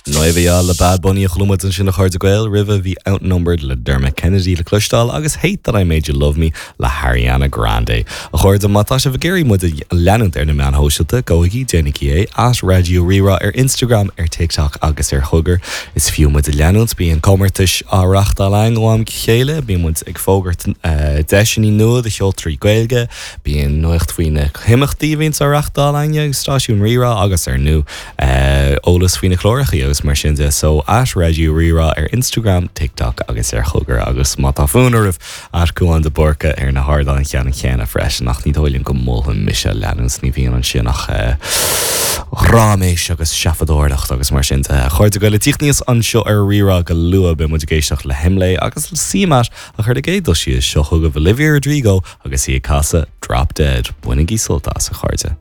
Noveya le Bad Bunny a chuala muid ansin a chairde Gael, roimhe bhí Outnumbered le Dermot Kennedy le cloisteáil agus Hate That I Made You Love Me le hAriana Grande. A chairde, má tá sibh ag iarraidh muid a leanúint ar na meáin shóisialta, gabhaigí, déanaigí é, at Raidió Rí-Rá ar Instagram, ar TikTok agus ar Thugger. Is fiú muid a leanúint, bíonn comórtais á reachtáil againn ó am go chéile, bíonn muid ag fógairt deiseanna nua do cheoltóirí Gaeilge, bíonn nuacht faoi na himeachtaí a bhíonns á reachtáil againne ag stáisiún Rí-Rá agus ar ndóigh eolas faoi na clárachaí agus mar sin de. So at Raidió Rí-Rá ar Instagram, TikTok agus ar Thugger agus má tá fonn oraibh at Cúán de Búrca ar na hardáin cheannann chéanna freisin ach ní dóigh liom go molfainn mise leanúint ní bhíonn ansin ach ráiméis agus seafadóireacht agus mar sin de. A chairde Gael ag tíocht aníos anseo ar Rí-Rá go luath beidh muid ag éisteacht le hImlé agus le CMAT ach ar an gcéad dul síos seo chugaibh Olivia Rodrigo agus í ag casadh Drop Dead. Bainigí sult as a chairde.